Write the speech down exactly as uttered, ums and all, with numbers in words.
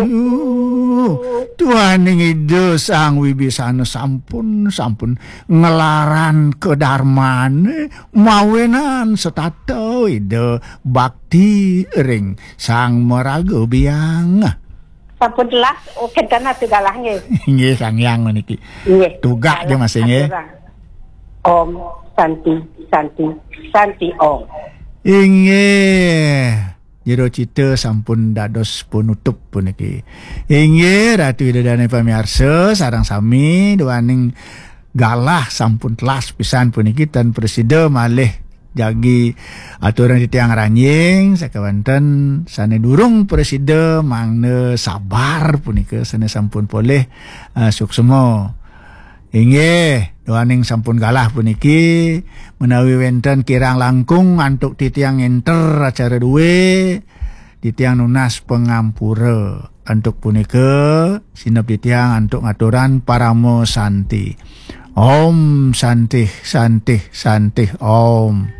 Duh, duaning Ida Sang Wibisana sampun, sampun nglarang kadarmane mawinan setata Ida bakti ring Sang Maraga Biang. Sampun telas, oh, kenten atu galah nggih. Nggih, Sang Hyang meniki. Nggih. Tugak dia masih nggih. Aturang. Om Santi, Santi, Santi Om. Inggih. Jero cita sampun dados penutup puniki. Inggih, Ratu Ida Dane pamiarsa, sareng sami duaning galah sampun telas pisan puniki tan prasida malih jagi aturang titiang ranjing sakawanten sane durung prasida mangda sabar punika sane sampun polih, eh, suksma. Inggih, duaning sampun galah puniki, menawi wenten kirang langkung antuk titiang enter acara duwe, titiang nunas pangampura. Antuk punika, sineb titiang antuk ngaturan parama santi. Om Santih, Santih, Santih, Om.